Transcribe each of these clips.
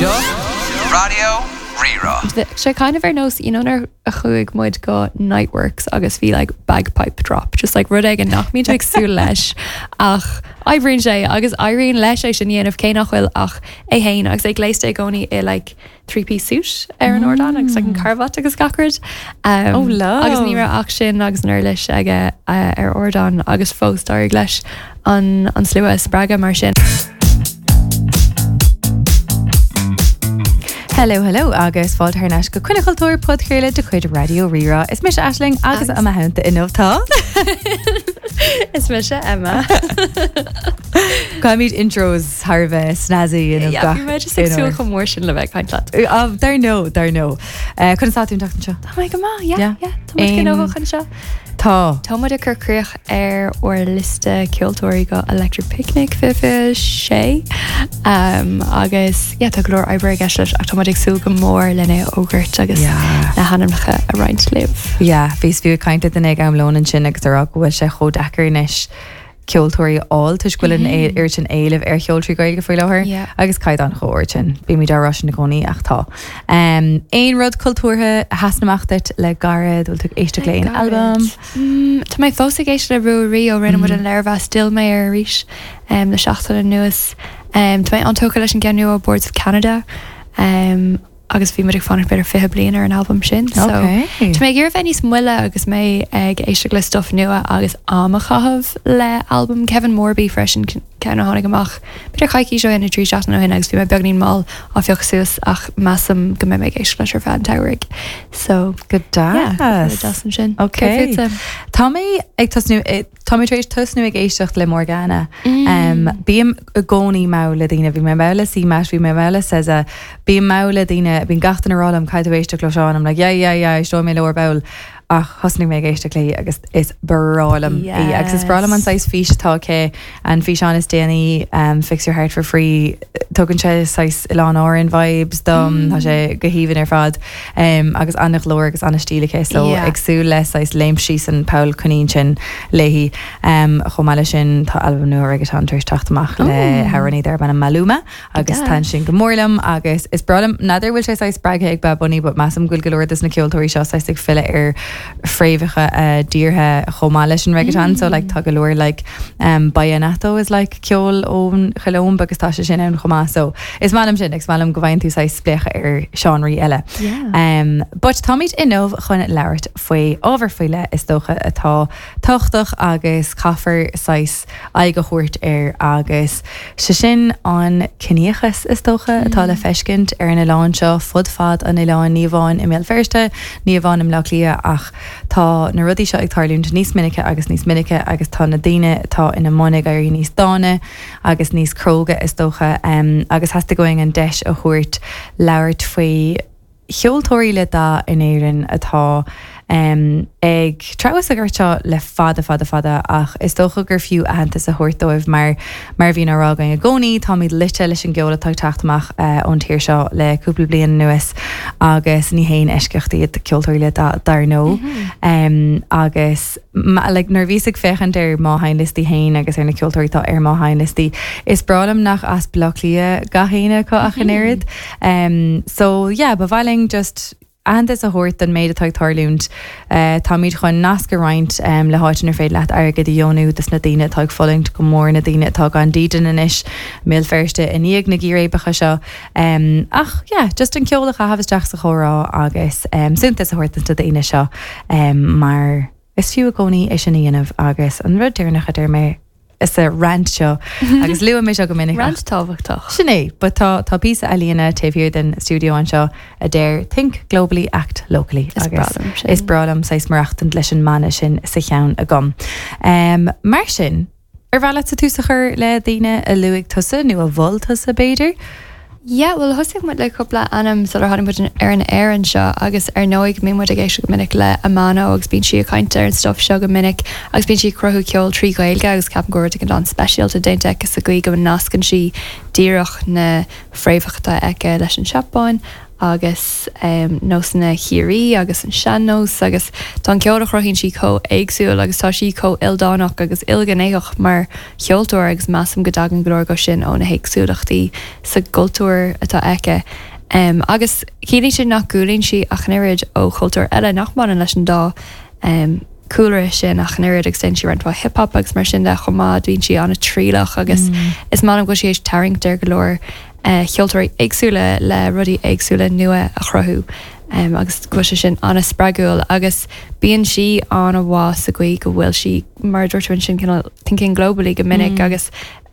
Seo Raidió Rí-Rá. Bheadh sé kind of ar nós, you know nuair a chuaigh muid go Niteworks agus bhí like bagpipe drop, just like rud éigin nach mbíonn tú ag súil leis ach oibríonn sé agus éiríonn leis é sin a dhéanamh cé nach bhfuil ach é féin agus é gléasta i gcónaí i like three-piece suit ar an ardán agus like an carbhat agus gach rud. Um, Oh, love. Agus ní raibh ach sin agus an uirlis aige uh, ar ardán agus fós d'éirigh leis an, an slua a spreagadh mar sin. Hello, hello agus fáilte thar n-ais go Coinne Chultúir podchraoladh de chuid Raidió Rí-Rá. Is mise Aisling agus i mo theannta inniu tá. Is mise Emma. Caithfimid intros thar a bheith snazzy inniu Yeah, gach bhí mé just ag aon súil uair. chomh mór sin le bheith ag caint leat. Ah, Dar ndóigh, dar ndóigh. Eh, Conas tá tú an tseachtain seo? Tá mé go maith, yeah, Yeah. yeah. Tá muid Aon- gnóthach anseo. Tá. Tá muid ag cur críoch ar ár liosta ceoltóirí go Electric Picnic 26 um, agus yeah, tá go leor oibre i gceist leis ach tá muid ag súil go mór lena fhógairt agus Yeah. na hainmneacha a roinnt libh. Yeah, bhíos fiú ag caint le duine ag am lóin ansin agus ag rá go bhfuil sé chomh deacair anois ceoltóirí a fháil toisc go bhfuil an oiread sin éilimh ar cheoltóirí Gaeilge faoi láthair Yeah. agus caighdeán chomh ard sin. Bímid á rá sin i gcónaí ach tá. Um, aon rud cultúrtha a sheasann amach duit le gairid, bhfuil tú ag éisteacht le aon albam? Mm, tá mé fós ag éisteacht le Ruairí ó rinne muid an léirmheas d'fhill mé air arís um, le seachtain anuas. Um, tá mé an-tógtha leis an gceann nua ó Boards of Canada. Um, agus bhí muid ag fanacht b'fhéidir 20 bliain ar an albam sin. So Ok. tá mé ag iarraidh bheith níos moille agus mé ag éisteacht le stuff nua agus am a chaitheamh le albam Kevin Morby freisin, ceann a tháinig amach b'fhéidir coicís ó shin nó 3 seachtain ó shin agus bhí mé beagnín mall á phiocadh suas ach measaim go mbeidh mé ag éisteacht leis ar feadh an tsamhraidh. So Go yeah, deas. go deas ansin. Ok. Céard fútsa? Tá mé ag tosnú Tá mé tar éis tosnú ag éisteacht le Morgana. Bím i gcónaí mall le daoine, bhí mé mall le CMAT, bhí mé mall le SZA, bím mall le daoine, bíonn gach duine ag rá liom caithfidh tú éisteacht leo seo and I'm like yeah yeah yeah éisteoidh mé leo ar ball ach thosnaigh mé ag éisteacht léi agus is breá liom í agus is breá liom an saghas fís atá aici, an físeán is déanaí Fix Your Heart For Free, tugann sé saghas Oileáin Árann vibes dom, tá sé go haoibhinn ar fad. Agus an-ghlór agus an-stíl aici so ag súil le saghas léimt síos an poll coinín sin léi. Chomh maith leis sin tá albam nua reggaeton tar éis teacht amach le hamhránaí darb ainm Maluma agus taitníonn sin go mór liom agus is breá liom, n'fheadar bhfuil sé saghas spreagtha ag Bad Bunny but measaim go bhfuil go leor dos na ceoltóirí seo saghas ag filleadh ar fréamhacha a dtíortha chomh maith leis an reggaeton so like tá go leor like vallenato is like ceol ón Cholóim agus tá sé sin ann chomh maith so is maith liom sin agus is maith liom go bhfaigheann tú saghas spléachadh ar seánraí eile. Yeah. But táimid inniu chun labhairt faoi ábhar faoi leith is dócha atá tábhachtach agus caithfear saghas aghaidh a thabhairt air agus sé sin an ciníochas is dócha atá le feiscint ar an oileán seo fud fad an oileáin ní amháin i mBéal Feirste, ní amháin i mBleá Cliath ach Tá na rudaí seo ag tarlúint níos minice agus níos minice agus tá na daoine atá ina mbun ag éirí níos dána agus níos cróga is dócha agus theastaigh uainn an deis a thabhairt labhairt faoi cheoltóirí le dath in Éirinn atá ag treabhadh sa ghort seo le fada fada fada ach is dócha gur fiú aitheantas a thabhairt dóibh mar Mar a bhíonn á rá againn i gcónaí, táimid loite leis an gceol atá ag teacht amach ón tír seo le cúpla bliain anuas agus ní haon eisceacht iad ceoltóirí le dath, dar ndóigh. Agus like nuair a bhíos ag féachaint ar mo sheinnliostaí féin agus ar na ceoltóirí atá ar mo sheinnliostaí, is breá liom nach as Baile Átha Cliath gach éinne acu ach an oiread. So yeah, ba mhaith linn just aitheantas a thabhairt don méid atá ag tarlúint. Táimid chun nasc a roinnt le háit inar féidir leat airgead a dheonú dos na daoine atá ag fulaingt go mór, na daoine atá gan dídean anois i mBéal Feirste i ndiaidh na gcíréibeacha seo. Ach yeah, just an ceol a chaitheamh isteach sa chomhrá agus suntas a thabhairt dos na daoine seo mar is fiú i gcónaí é sin a dhéanamh agus an rud deireanach a deir mé, sa rant seo agus luaim é seo go minic. Rant tábhachtach. Sin é, but tá tá píosa ealaíne taobh thiar den stiúideo anseo a deir 'Think globally, act locally' Is breá liom sin. is breá liom saghas maireachtaint leis an mana sin sa cheann agam. Mar sin, ar mhaith leatsa tús a chur le daoine a luaigh tusa nó a mhol tusa b'fhéidir? Yeah, bhuel thosaigh muid le cúpla ainm sular tháinig muid ar an aer anseo agus ar ndóigh bíonn muid ag éisteacht go minic le Amano agus bíonn sí ag caint ar an stuff seo go minic agus bíonn sí ag cruthú ceol trí Ghaeilge agus ceapaim go bhfuil rud éigin an-speisialta déanta aici sa gcaoi go nascann sí díreach na fréamhacha atá aici leis an Seapáin. agus nósanna Chiarraí agus an sean-nós agus tá an ceol a chruthaíonn sí chomh éagsúil agus tá sí chomh ildánach agus ilghnéitheach mar cheoltóir agus measaim go dtagann go leor de sin ó na héagsúlachtaí sa gcultúr atá aici. Agus ciallaíonn sin nach gcúlaíonn sí ach an oiread ó chultúir eile nach mbaineann leis an dá cúlra sin ach an oiread agus déanann sí roinnt mhaith hip hop agus mar sin de chomh maith, bíonn sí an-trialach agus is maith liom go bhfuil sí théis tarraingt ar go leor cheoltóirí éagsúla le rudaí éagsúla nua a chruthú agus go bhfuil sé sin an-spreagúil agus bíonn sí an-mhaith sa gcaoi go bhfuil sí, mar a dúirt tú ansin, cineál thinking globally go minic agus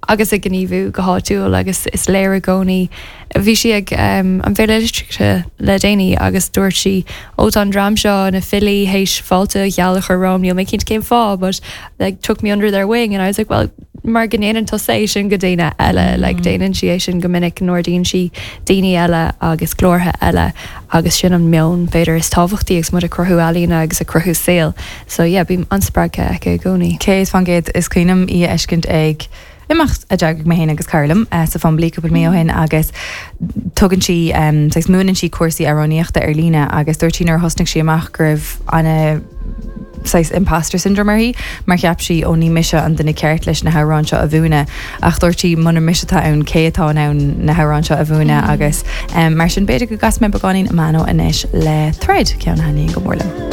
agus ag gníomhú go háitiúil agus is léir i gcónaí. Bhí sí ag an bhFéile Litríochta le déanaí agus dúirt sí, Ó tá an dream seo, na filí, théis fáilte gheal a chur romham, níl mé cinnte cén fáth but like took me under their wing and I was like well mar go ndéanann tusa é sin go daoine eile, like déanann sí é sin go minic, n-ardaíonn sí daoine eile agus glórtha eile agus sin an meon b'fhéidir is tábhachtaí agus muid ag cruthú ealaíona agus ag cruthú saoil. So yeah, bím an-spreagtha aici i gcónaí. 100%, is cuimhin liom í a fheiscint ag imeacht a d'eagraigh mé féin agus cara liom sa Fumbally cúpla mí ó shin agus tugann sí, saghas múineann sí cúrsaí amhránaíochta ar líne agus dúirt sí nuair a thosnaigh sí amach go raibh ana saghas imposter syndrome uirthi mar cheap sí ó ní mise an duine ceart leis na hamhráin seo a mhúineadh ach dúirt sí muna mise atá ann cé atá in ann na hamhráin seo a mhúineadh agus mar sin b'fhéidir go gcasfaidh mé beagáinín Amano anois le Thread, ceann a thaitníonn go mór liom.